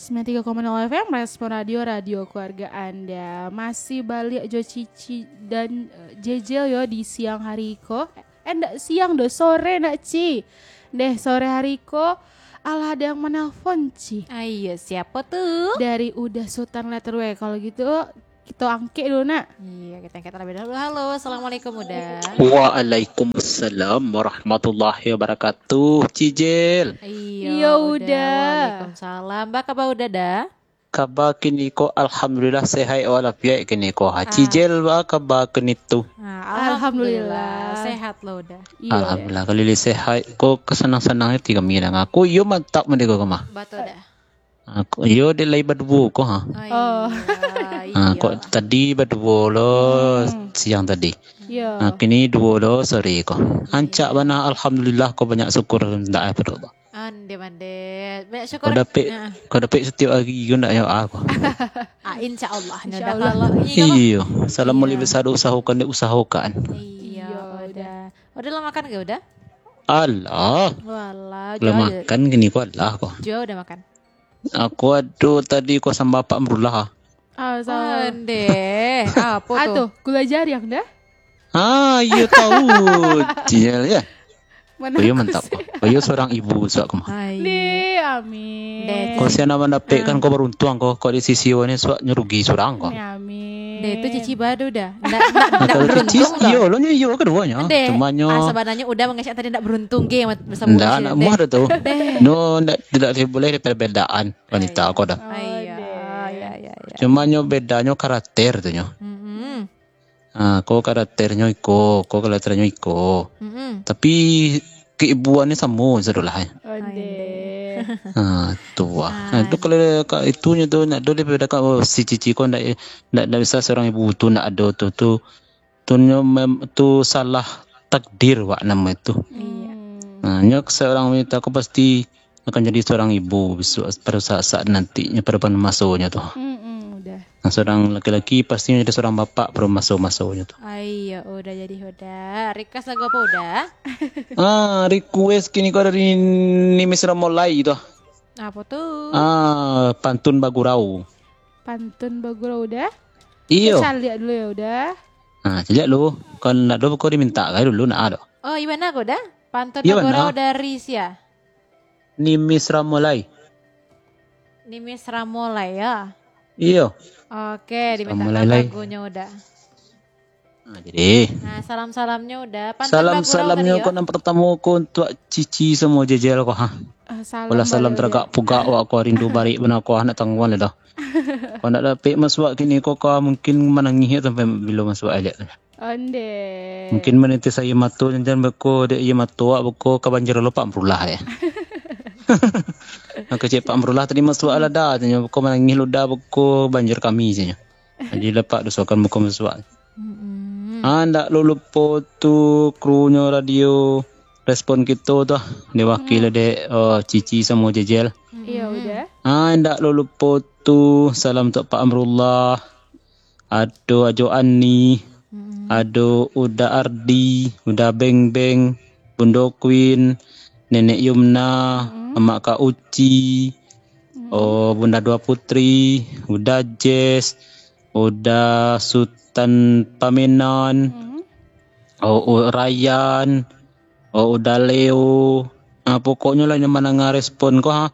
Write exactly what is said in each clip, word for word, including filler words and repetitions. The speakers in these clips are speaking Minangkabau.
Sembilan tiga koma nol F M, Respon Radio, radio keluarga Anda. Masih baliak jo Cici dan, eh, Jejel yo di siang hari ko. Eh, ndak siang doh, sore nak, Ci. Deh, sore hari ko, alah ada yang menelpon, Ci. Ayo, siapa tu? Dari Uda Sutan Letter W. Kalau gitu, kita angkek dulu, nak. Iya, kita angkek terlebih dahulu. Halo, assalamualaikum, Uda. Waalaikumsalam warahmatullahi wabarakatuh, Cijel. Iya, Iya, Uda. Uda. Waalaikumsalam. Ba kaba Uda, Da? Kaba kini ko, alhamdulillah, sehat walafiat kini ko. Ha, Ah. Cijel, ba kaba kini tu? Ah, Alhamdulillah. Alhamdulillah. Sehat lo, Uda. Iya, Uda. Alhamdulillah, kalau lai sehat ko, kasanang-sanang ati kami danga. Ko iyo mantap mande ko mah. Batul, Da. Ah, ko iyo dek lai baduo ko, ha. Oh, Oh. iya, Ah, iya. Ko tadi baduo lo Hmm. siang tadi. Iya. Ah, kini duo lo sore ko. Iya. Rancak bana, alhamdulillah ko, banyak syukur ndak eh, pado Allah. Ande mande. Banyak syukur. Ko dapek, Ah. ko dapek setiap hari ko ndak yo ah ko. Ah, insya Allah. Insya Uda, Allah. Kalau ini kan Iyo, salam Iya. mulai besar usahakan dek usahakan. Iya, Iya, Uda. Uda. Uda lah makan ke, Uda? Alah. Walah, Lah jual. makan kini ko alah ko. Jual Uda makan. Aku ado tadi ko samba Pak Amrullah. Ah, salah. Ande. Apa Ah, tu? tu, gula jariang dah. Ah, iyo tahu. Cijel ya. Mana Oh, iyo aku mantap. sih? Oh, iyo seorang ibu suak ko mah. Hai. Deh, amin. Deh, Ko sia nan mandapekkan Ah. ko baruntuang ko, ko di sisi wani suak nyo rugi surang ko. Ya, amin. Deh, tu Cici badu dah. Ndak, ndak, Nah, ndak kalau Cici, beruntung dah. iyo lo nyo iyo keduonyo. Deh, Cuma nyo ah, sebenarnya Uda mengecek tadi ndak beruntung ge mat-, bersama Ndak, Cici nak deh. muah dah tu. Deh. No, ndak, tidak boleh ada perbedaan wanita Iya. ko dah. Oh, Iya, deh. iya, iya, iya. Cuma nyo bedanyo karakter tu nyo. Mm-mm. Ah, ko karakternyo iko, ko karakternyo iko. Mm-mm. Tapi keibuannyo samo sadolah, eh. Onde. Ah, tu ah. Ah. Ah, tu kalau ka itunyo tu nak do dibedakan, oh, si Cici ko ndak, ndak, ndak bisa seorang ibu tu ndak ado tu, tu, tu nyo mem-, tu salah takdir wak namo itu. Iya. Hmm. Ah, nyo seorang wanita ko pasti akan jadi seorang ibu bisuak, pado saat-saat nantinyo, pado masonyo tu. Mm-mm, Uda. Nah, seorang laki-laki pasti jadi seorang bapak pado maso-masonyo tu. Ai, ya Uda, jadi Uda. Request lagu apa, Uda? Ah, request kini ko dari Nimis Ramolai tu. Apa tu? Ah, Pantun Bagurau. Pantun Bagurau, Uda? Iyo. Kita caliak dulu ya, Uda. Ah, caliak lu. Kan nak dulu ko diminta kai dulu nak ado. Oh, iya bana ko, Uda? Pantun Iya, Bagurau bana. dari sia? Nimis Ramolai. Nimis Ramolai, ya? Iyo. Oke, dimintakan Ramolai, Lai. lagunyo, Uda. Nah, jadi. Nah, salam-salamnyo, Uda. Pantun Bagurau Salam-salamnyo tadi, ko yo? nan pertamo ko untuak Cici samo Jejel ko, ha. Ah, salam Walah salam balik, Uda. teragak pugak wak ko, rindu barik bana ko, ha, nak tangguang lah dah. Ko nak dapek masuak kini ko, ko mungkin manangih sampai bilo masuak ajak tu. Onde. Mungkin manitis aia mato, jan-jan beko, dek aia mato awak beko ka banjir lo Pak Amrullah, ya. Mako cek Pak Amrullah tadi masuak lah dah, tanyo beko manangih lo dah beko banjir kami, tanyo. Jadi lepak dosokan beko masuak. Mm-mm. Ah, ndak lo lupo tu kru nyo radio Respon kito tu, diwakili Mm. dek, oh, Cici samo Jejel. Iyo, Mm. Uda. Ah, ndak lo lupo tu, salam untuak Pak Amrullah. Ado Ajo Ani, Mm. ado Uda Ardi, Uda Beng Beng, Bundo Queen, Nenek Yumna, Mm. Amak Kak Uci, Mm. oh, Bunda Dua Putri, Uda Jess, Uda Sutan Pamenan, Mm. oh, oh, Rayyan, oh, Uda Leo. Ah, pokoknyo lah, nyo mandanga respon ko, ha.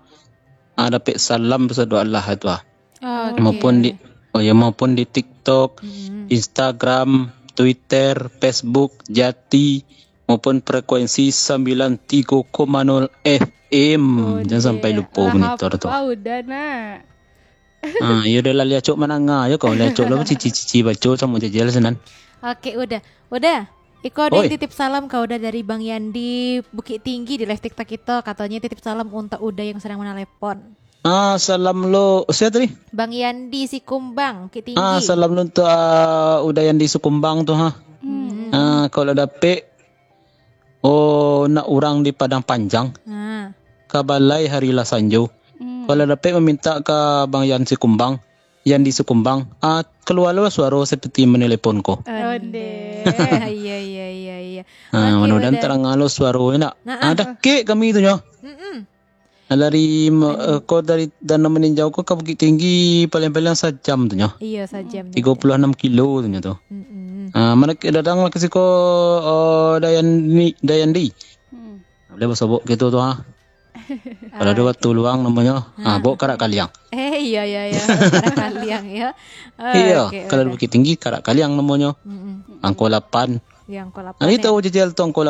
Ah, dapek salam basado Allah tu, ha. Oke. Maupun di, oh ya, maupun di TikTok, Mm-mm. Instagram, Twitter, Facebook, Jati, maupun frekuensi sembilan tiga koma nol F M. Oh, Jan sampai deh. lupo Lah monitor tu. hapa Uda, nak? Ah, iyo dah lah, liacok mandanga yo ko, liacok lo cici-cici baco samo Jejel sinan. Oke, Uda. Uda, iko ado Oi. titip salam ka Uda dari Bang Yandi Bukittinggi di live TikTok kito, katonyo titip salam untuak Uda yang sedang menelepon. Ah, salam lo, sia tadi? Bang Yandi Sikumbang, Bukittinggi. Ah, salam lo untuak, ah, Uda Yandi Sikumbang tu, ha. Hmm. Ah, kalau dapek, oh, nak urang di Padang Panjang. Ah. Ka balai hari lah sanjo. Hmm. Kalau dapek maminta ka Bang Yan Sikumbang, Yandi Sikumbang, ah, kalua lo suaro seperti menelepon ko. Onde. Iya, iya, iya, iya. Ah, Oke, mudah-mudahan Uda. tarang lo suaro nak. Nah, Ah, ah. dakek kami tu nyo. Mm-mm. Dari, eh, ko dari Tanah Maninjau ko ka Bukittinggi paling-paling sajam tu nyo. Iyo, sajam. Tigo puluah anam kilo tu nyo tu. Mm-mm. Ah, mana ke datang lah ke siko, oh, Dayandi, Dayandi. Hmm. Boleh basobok gitu tu ha. Kalau ada waktu luang namonyo. Ah, bok karak kaliang. Eh, iya, iya, iya. Karak kaliang, ya. Iyo, kalau di Bukittinggi karak kaliang namonyo. Mm-mm. Angko lapan. Ya, angko lapan. Nah, tahu jajal tu angko